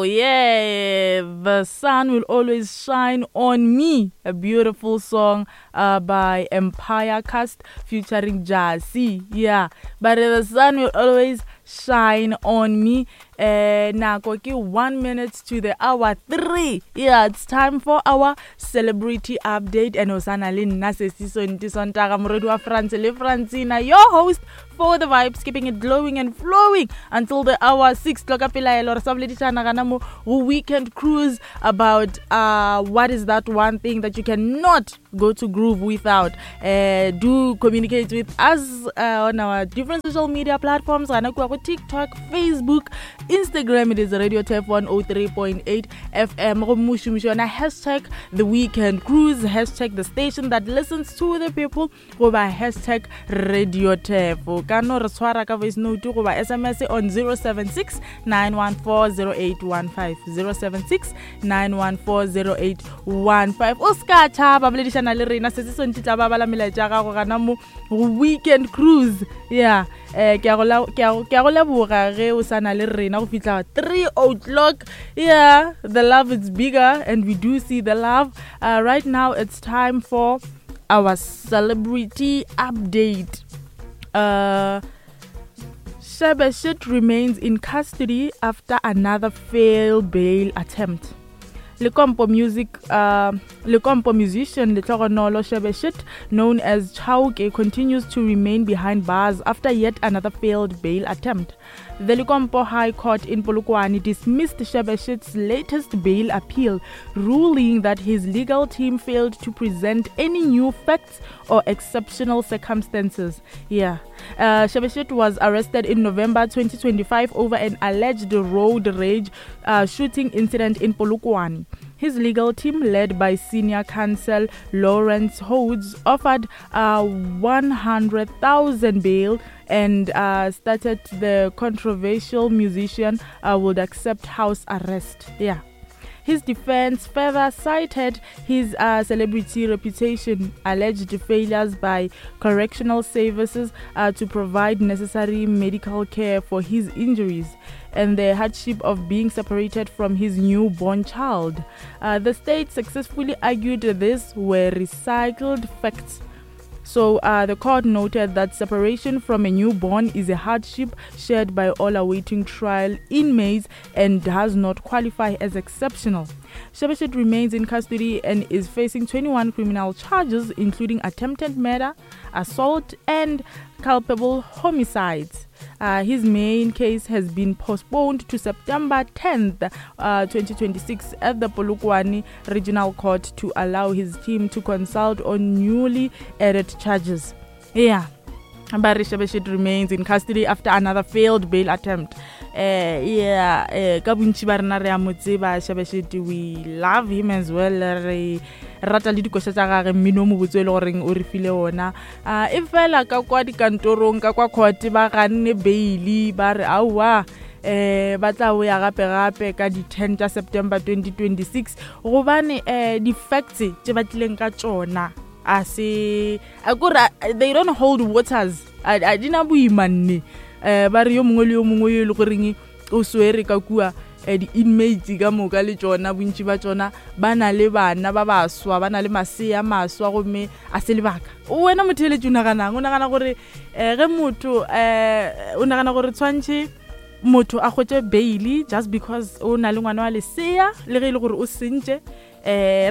Beautiful. Yeah. The sun will always shine on me. A beautiful song uh, by Empire Cast featuring Jasi. Yeah. But the sun will always shine on me. Eh, nako ke 1 minute to the hour 3. Yeah, it's time for our celebrity update and osana le nna sesi Sonti Sontaga moredi wa France le Francina, your host for the vibes, keeping it glowing and flowing until the hour 6. Tloka pelaelo re sa boledišana gana mo go weekend cruise about uh, what is that one thing that you cannot go to groove without. Uh, do communicate with us uh, on our different social media platforms gana kua go TikTok, Facebook, Instagram. It is Radio Tef 103.8 FM. Gomme o šomiše yona hashtag the weekend cruise, hashtag the station that listens to the people, goba hashtag radio tef. O ka no re tshwara ka voice note goba SMS on 076 914 0815, 076 914 0815. O se ka tšhaba, boledišana le rena. Se se sontši tla ba bala melaetša ya gago gana mo go weekend cruise. Yeah, eh ke a go la- ke a go- ke a go leboga ge o sa na le rena go fihla 3 o'clock. Yeah, the love is bigger and we do see the love. Right now it's time for our celebrity update. Shebeshxt remains in custody after another failed bail attempt. Lekompo music, Lekompo musician Lehlogonolo Shebeshxt, known as Chauke, continues to remain behind bars after yet another failed bail attempt. The Lekompo High Court in Polokwane dismissed Shebeshxt's latest bail appeal, ruling that his legal team failed to present any new facts or exceptional circumstances. Yeah. Shebeshxt was arrested in November 2025 over an alleged road rage shooting incident in Polokwane. His legal team, led by senior counsel Lawrence Hodes, offered a 100,000 bail and stated the controversial musician would accept house arrest. Yeah. His defense further cited his celebrity reputation, alleged failures by correctional services to provide necessary medical care for his injuries, and the hardship of being separated from his newborn child. The state successfully argued these were recycled facts. So the court noted that separation from a newborn is a hardship shared by all awaiting trial inmates and does not qualify as exceptional. Shebeshxt remains in custody and is facing 21 criminal charges, including attempted murder, assault, and culpable homicides. His main case has been postponed to September 10th, 2026 at the Polokwane Regional Court to allow his team to consult on newly added charges. Yeah. Barry Shebeshxt remains in custody after another failed bail attempt. Yeah, ka bontši ba rena re a mo tseba Shebeshxt, we love him as well. Re rata le dikoša tša gage, mmino o mobotse e le goreng o re file ona. E fela ka kwa dikantorong, ka kwa court ba ganne bail, ba re aowa, ba tla boya gape gape ka di 10 tša September 2026, gobane di-facts tše ba tlileng ka tšona a se a kore they don't hold waters, a di na boima nne. Ba re yo mongwe le yo mongwe yo e le goreng o swere ka kua, di-inmates ka moka le tšona, bontši ba tšona ba na le bana ba baswa, ba na le masea maswa, gomme a se lebaka. Wena motheeletši o naganang? O nagana gore ge motho o nagana gore tshwantšhe motho a hwetše bail just because o na le ngwana wa lesea, le ge e le gore o sentše,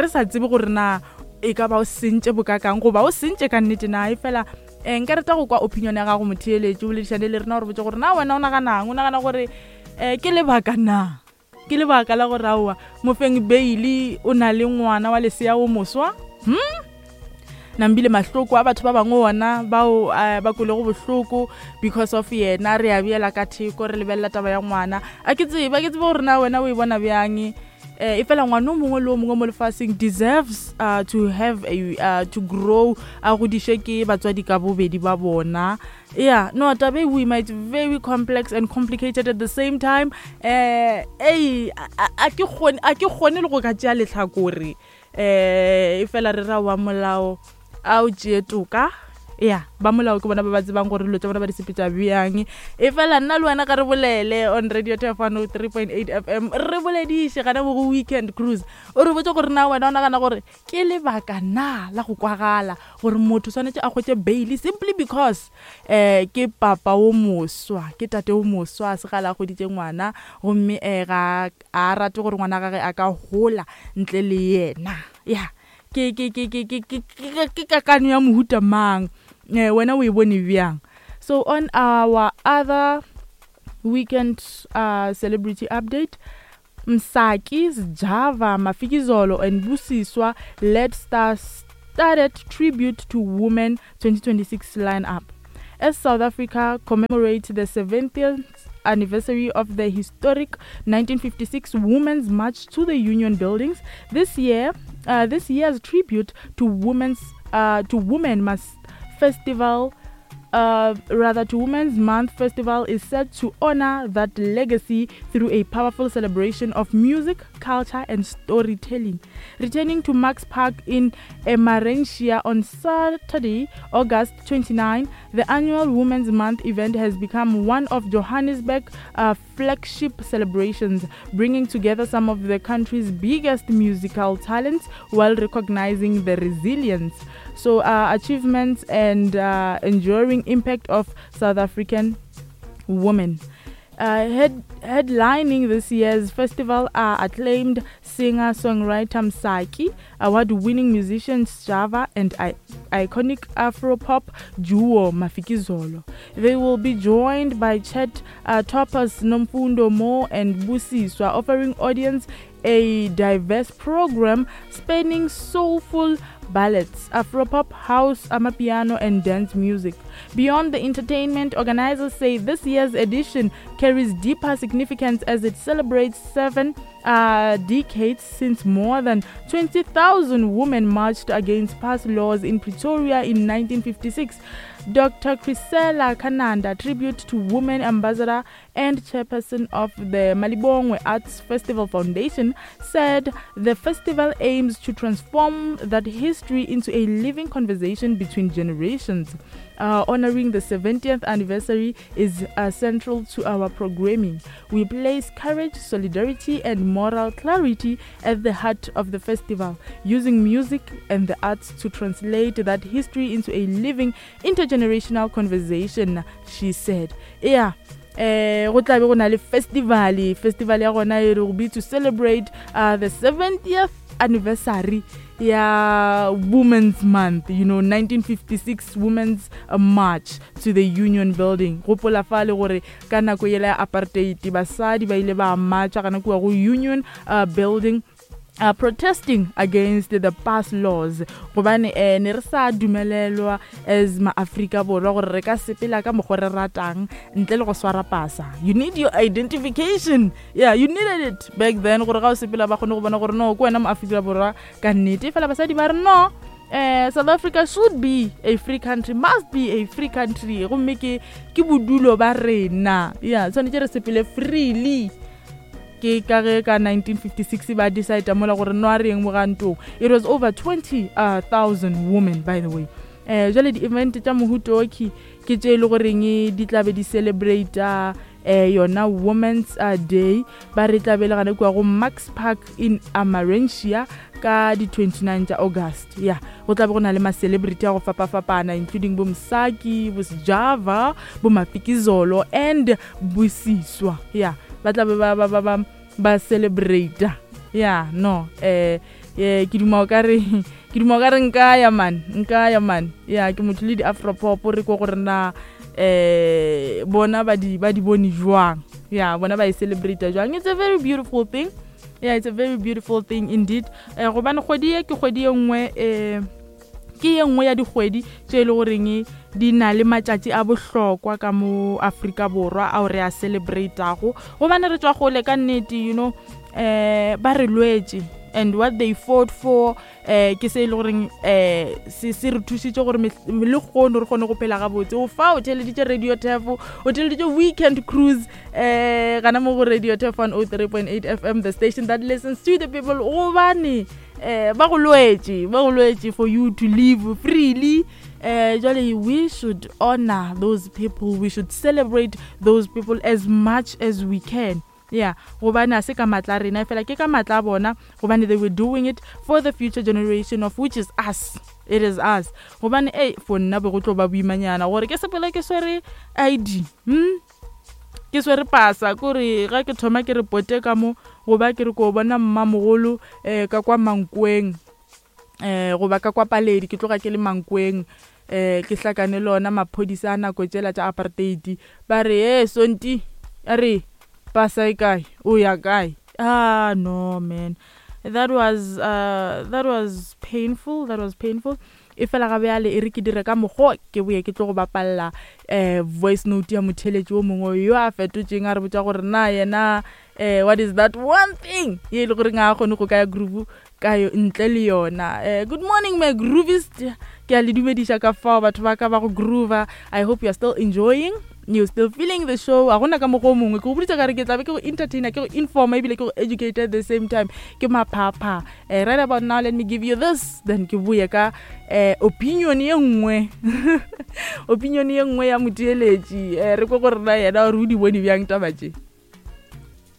re sa tsebe gore na e ka ba o sentše bokakang goba o sentše ka nnete na? E fela nka rata go kwa opinion ya gago motheeletši, o boledišane le rena gore botse gore na wena o naganang, o nagana gore ke lebaka na, ke lebaka la gore aowa mofeng bail o na le ngwana wa lesea o moswa? Nambile mahloko a batho ba bangwe ona bao ba kwelego bohloko because of yena, re a beela ka theko, re lebelela taba ya ngwana. A ke tsebe, a ke tsebe gore na wena o e bona bjang. E fela ngwana o mongwe le o mongwe mo lefaseng deserves to have a, to grow, a godiše ke batswadi ka bobedi ba bona. Yeah, no, taba e boima, it's very complex and complicated at the same time. Ei, a ke kgone, a ke kgone le go ka tšea lehlakore. E fela re ra wa molao a o tšee toka. Ya, ba molao ke bona ba ba tsebang gore dilo tša bona ba di sepetša bjang. E fela nna le wena ga re bolele on Radio Turf 103.8 FM, re bolediše gana mo go Weekend Cruise. O re botse gore na wena o nagana gore ke lebaka na la go kwagala gore motho swanetše a hwetše bail simply because um ke papa wo moswa, ke tate wo moswa, a se gale a hweditše ngwana gomme um ga a rate gore ngwana gage a ka gola ntle le yena. Ya. Ke, ke, ke, ke, ke, ke, ke, ke kakano ya mohuta mang? Eh, wena o e bone bjang? So on our other weekend uh, celebrity update, Msaki, Sjava, Mafikizolo and Busiswa led star studded tribute to women 2026 lineup. As South Africa commemorates the 70th anniversary of the historic 1956 Women's March to the Union Buildings, this year, uh, this year's tribute to women's uh, to Women Must Festival uh, rather to Women's Month Festival is set to honor that legacy through a powerful celebration of music, culture, and storytelling. Returning to Max Park in Emmarentia on Saturday, August 29, the annual Women's Month event has become one of Johannesburg's uh, flagship celebrations, bringing together some of the country's biggest musical talents while recognizing the resilience, so uh, achievements, and uh, enduring impact of South African women. Uh, head, headlining this year's festival are acclaimed singer-songwriter Msaki, award-winning musician Sjava, and I- iconic Afro-pop duo Mafikizolo. They will be joined by Chet uh, Toppers Nomfundo Mo and Busiswa, offering audience a diverse program spanning soulful ballads, Afropop, house, amapiano, and dance music. Beyond the entertainment, organizers say this year's edition carries deeper significance as it celebrates seven uh, decades since more than 20,000 women marched against pass laws in Pretoria in 1956. Dr. Chrisella Kananda, tribute to women ambassador and chairperson of the Malibongwe Arts Festival Foundation, said the festival aims to transform that history into a living conversation between generations. Uh, honoring the 70th anniversary is uh, central to our programming. We place courage, solidarity, and moral clarity at the heart of the festival, using music and the arts to translate that history into a living intergenerational conversation, she said. Yeah. Eh go tlabe go na le festival festival ya gona e re go be to celebrate uh, the 70th anniversary ya Women's Month, you know, 1956 Women's uh, March to the Union Building. Gopola fa le gore ka nako yela ya apartheid basadi ba ile ba marcha gana kua go Union uh, Building uh, protesting against the pass laws gobane eh, ne re sa dumelelwa as ma-Afrika Borwa gore re ka sepela ka mokgwa re ratang ntle le go swara pasa. You need your identification. Yeah, you needed it back then gore ga o sepela ba kgone go bona gore no ke wena mo-Afrika Borwa ka nnete. Fela basadi ba re no, eh, South Africa should be a free country, must be a free country, gomme ke ke bodulo ba rena. Yeah, tshwanetse re sepele freely. Ke ka ge ka 1956 ba decide mola gore no a re yeng mogantong. It was over 20,000 uh, women, by the way. Eh jale di-event tša mohutoki ke tše e le goreng di tlabe di celebrate eh yona Women's uh, Day. Ba re tlabe le gane kua go Max Park in Amarentia ka di 29 tša August. Ya go tlabe go na le ma-celebrity a go fapafapana, including bo Msaki, bo Sjava, bo Mafikizolo and Busiswa. Ya ba tlabe ba ba ba ba ba celebrate. Ya no eh eh ke duma o ka re ke duma o ka re nka ya man, nka ya man. Ya ke motho le di afropop re ko gore na eh bona ba di ba di bone jwang. Ya bona ba e celebrate jwang. It's a very beautiful thing. Yeah, it's a very beautiful thing indeed. Eh gobane kgwedi ye ke kgwedi ye nngwe eh ke ye nngwe ya dikgwedi tše e le goreng di na le matšatši a bohlokwa ka mo Afrika Borwa ao re a celebratago, gobane re tšwa gole ka nnete, you know, eh ba re lwetše. And what they fought for eh ke se e le goreng eh se se re thusitse gore le kgono re kgone go phela gabotse. O fa o theleditše Radio Turf, o theleditše Weekend Cruise eh gana mo go Radio Turf 103.8 FM, the station that listens to the people, gobane eh ba go lwetše, ba go lwetše for you to live freely. Eh jwale we should honor those people, we should celebrate those people as much as we can. Yeah, gobane a se ka matla a rena, efela ke ka matla a bona, gobane they were doing it for the future generation, of which is us. It is us. Gobane ei, for nna be go tlo ba boimanyana gore ke sepele ke swere ID, Ke swere pasa, kore ga ke thoma ke re pote ka mo, goba ke re ko bona mmamogolo ka kwa Mankweng, goba ka kwa Paledi, ke tloga ke le Mankweng, ke hlakane le ona maphodisa a nako tšela tša apartheid, ba re, Hee Sonti, a re, pasa e kae? O ya kae? Ah, no man. That was, that was painful, that was painful. Efela ga bjale e re ke dire ka mokgo ke boye ke tlo go bapalla voice note ya motheeletši wo mongwe yo a fetotšeng a re botša gore na yena what is that one thing ye e le goreng ga a kgone go ka ya groove ka ntle le yona. Good morning my groovist, ke a le dumediša ka fao batho ba ka ba go groova. I hope you are still enjoying, you still feeling the show. A gona ka mokgwa o mongwe ke go boditša ka re ke tlabe ke go entertainer, ke go informa, ebile ke go educate at the same time. Ke maphapha. Right about now let me give you this, then ke boye ka opinion ye nngwe opinion ye nngwe ya motheeletši, re kwe gore na yena gore o di bone bjang taba tše.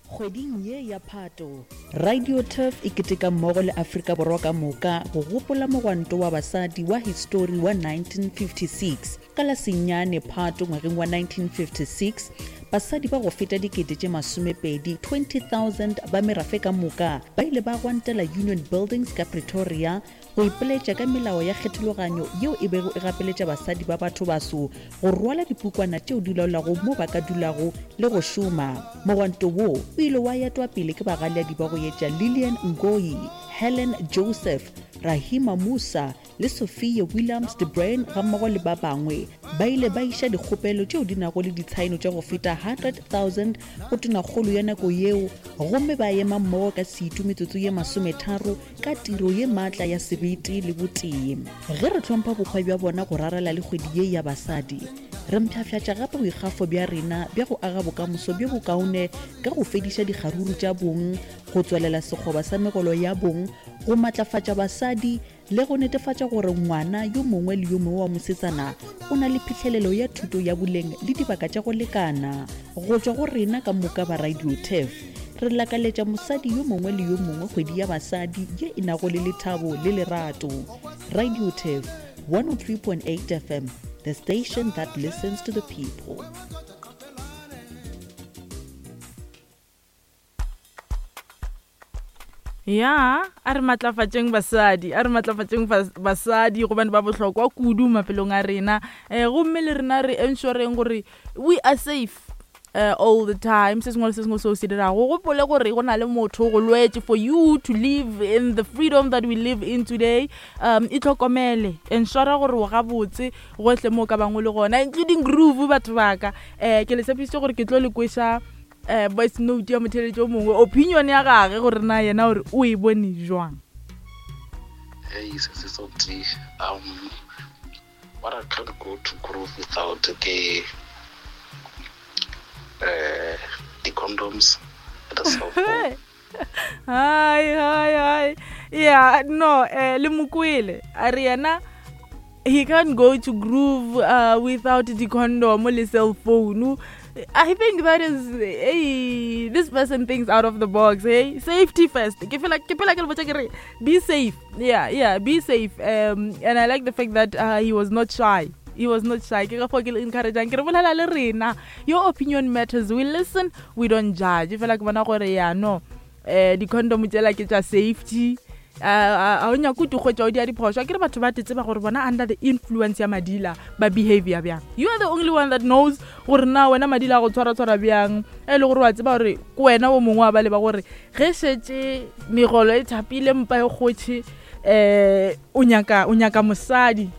Kgweding ye ya Phato, Radio Turf e keteka mmogo le Afrika Borwa ka moka go gopola mogwanto wa basadi wa histori wa 1956. Ka la senyane Phato ngwageng wa 1956, basadi ba go feta dikete tše masomepedi, 20,000, ba merafe ka moka ba ile ba gwantela Union Buildings ka Pretoria go ipoletša ka melao ya kgethologanyo yeo e bego e gapeletša basadi ba bathobaso go rwala dipukwana tšeo di laolago mo ba ka dulago le go šoma. Mogwanto wo o ile wa etwa pele ke bagaleadi ba go etša Lillian Ngoyi, Helen Joseph, Rahima Moosa le Sophie Williams de Bruyn gammogo le ba bangwe. Ba ile ba iša dikgopelo tšeo di nago le ditshaeno tša go feta 100,000 go tonakgolo ya nako yeo gomme ba ema mmogo ka setu metsotso ye masometharo ka tiro ye maatla ya sebete le botee. Ge re hlompha bohwa bja bona go rarela le kgwedi ye ya basadi, re mpshafšatša gape boikgafo bja rena bja go aga bokamoso bjo bokaone ka go fediša dikgaruru tša bong, go tswalela sekgoba sa megolo ya bong, go matlafatša basadi le go netefatša gore ngwana yo mongwe le yo mongwe wa mosetsana o na le phihlelelo ya thuto ya boleng le dibaka tša go lekana. Go tšwa go rena ka moka ba Radio Turf, re lakaletša mosadi yo mongwe le yo mongwe kgwedi ya basadi ye e nago le lethabo le lerato. Radio Turf, 103.8 FM, the station that listens to the people. Ya, a re matlafatšeng basadi, a re matlafatšeng basadi gobane ba bohlokwa kudu maphelong a rena. Gomme le rena re ensuring gore we are safe all the time. Se sengwe le se sengwe seo se dirago, gopole gore go na le motho go lwetše for you to live in the freedom that we live in today. Itlhokomele, ensure gore o gabotse gohle mo o ka bangwe le gona, including groove batho baka. Ke le tshepišitše gore ke tlo le kweša voice note ya motheeletši o mongwe, opinion ya gage gore na yena gore o e bone jwang. Hey, sisi Soti, what I can't go to groove without the condoms and the cell phone. Hi, hi, hi. Yeah, no, le mokwele. A re yena he can't go to groove without the condom le cell phone. I think that is, hey, this person thinks out of the box. Hey, safety first. Ke feel like, ke phela ke le botša ke re, be safe. Yeah, yeah, be safe. And I like the fact that he was not shy. He was not shy. Ke ka fao ke le encourage-ang. Ke re bolela le rena. Your opinion matters. We listen, we don't judge. Fela ke bona gore ya no, di-condom tšela ke tša safety. A o nyake o di hwetša o dia diphošo. A ke re batho ba tseba gore bona under the influence ya madila ba behavior bjang. You are the only one that knows gore na wena madila a go tshwara-tshwara bjang. E le gore wa tseba gore ke wena o mongwe wa ba leba gore ge šetše megolo e thapile mpa e kgotšhe, o nyaka, o nyaka mosadi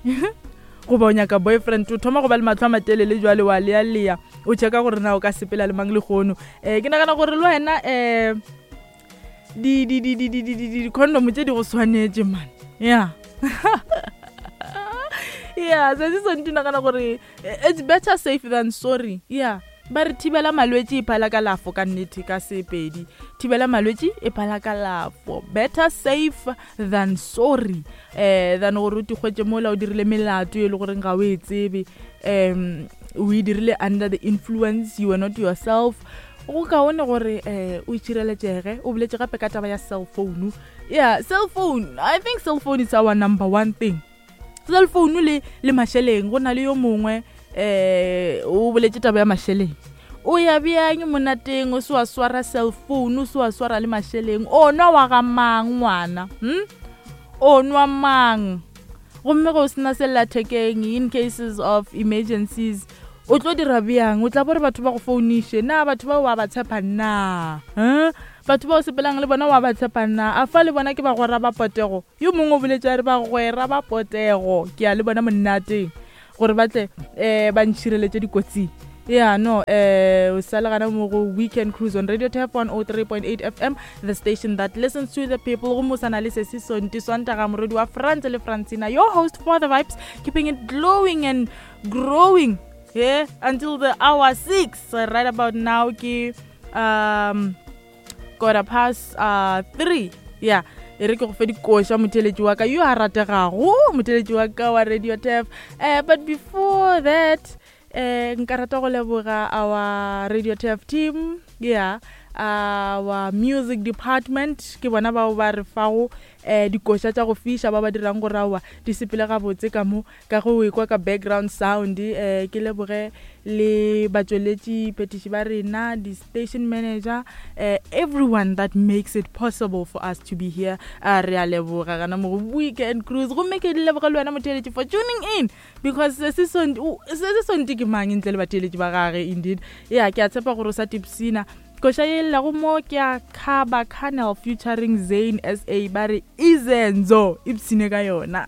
goba o nyaka boyfriend, o thoma go ba le mahlo a matelele jwale wa lea-lea o checka gore na o ka sepela le mang lehono. Ke nagana gore le wena, di di di di di di di di-condom tše di go swanetše man ya yeah se se santse nagana gore it's better safe than sorry yeah ba re thibela malwetši e phala kalafo ka nnete ka sepedi thibela malwetši e phala kalafo better safe than sorry um than gore o tikgwetše mola o dirile melato e le goreng ga o e tsebe um o e dirile under the influence you were not yourself go kaone gore um o itšhireletšege o boletše gape ka taba ya cell phone yeah cell phone i think cell phone is our number one thing cell phone le le mašeleng go na le yo mongwe um o boletše taba ya mašeleng o ya bjang monateng o se wa swara cell phone o se wa swara le mašeleng o nwa wa ga mang ngwana hm o nwa mang gomme go sena sellathekeng in cases of emergencies o tlo dira bjang o tla bore batho ba go founiše na batho ba wa ba tshepa na um batho ba o sepelang le bona wa ba tshepa na a fa le bona ke bagwera ba potego yo mongwe o boletše a re bagwera ba potego ke ya le bona monateng gore ba tle um ba ntšhireletše dikotsing yeah no eh o sa le gana mo go weekend cruise on radio tap 103.8 fm the station that listens to the people go mosana le sesi sonti sontaga morodi wa france le francina your host for the vibes keeping it glowing and growing yeah until the hour 6 right about now ke um quarter past uh, 3 yeah e re ke go fe dikoša motheletši wa ka yo a rategago motheletši wa ka wa radio tef uh, but before that eh nka rata go leboga our radio tef team yeah our music department ke bona bao ba re fago um dikoša tša go fiša ba ba dirang gore aowa di sepele gabotse ka mo ka go ekwa ka background sound um ke leboge le batšweletši phetiši ba rena di-station manager um everyone that makes it possible for us to be here a re a leboga gana mo go weekend cruise gomme ke leboge le wena motheeletši for tuning in because se se sonti ke mang ntle le batheeletši ba gage indeed ya ke a tshepa gore o sa tipsina koša ye llago mo ke ya caba canal featuring zane sa ba re izenzo ipsine ka yona.